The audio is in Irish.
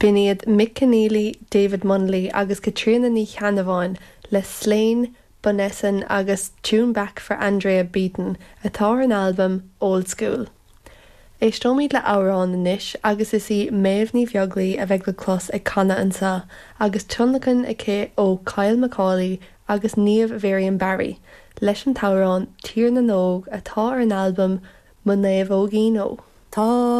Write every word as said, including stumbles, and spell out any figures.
B'in iad Mick Keneally, David Munnelly agus Caitríona Ní Cheannabháin le Slane, Bunessan agus Tune Back for Andrea Beaton atá ar an albam Old School. Éisteoimid le amhrán anois agus is í Méabh Ní Bheaglaoich a bheidh le clos ag canadh anseo agus tionlacan aici ó Kyle Macaulay agus Niamh Miriam Barry leis an t-amhrán Tír na nÓg atá ar an albam Mo Naomhóigín Ó. Tá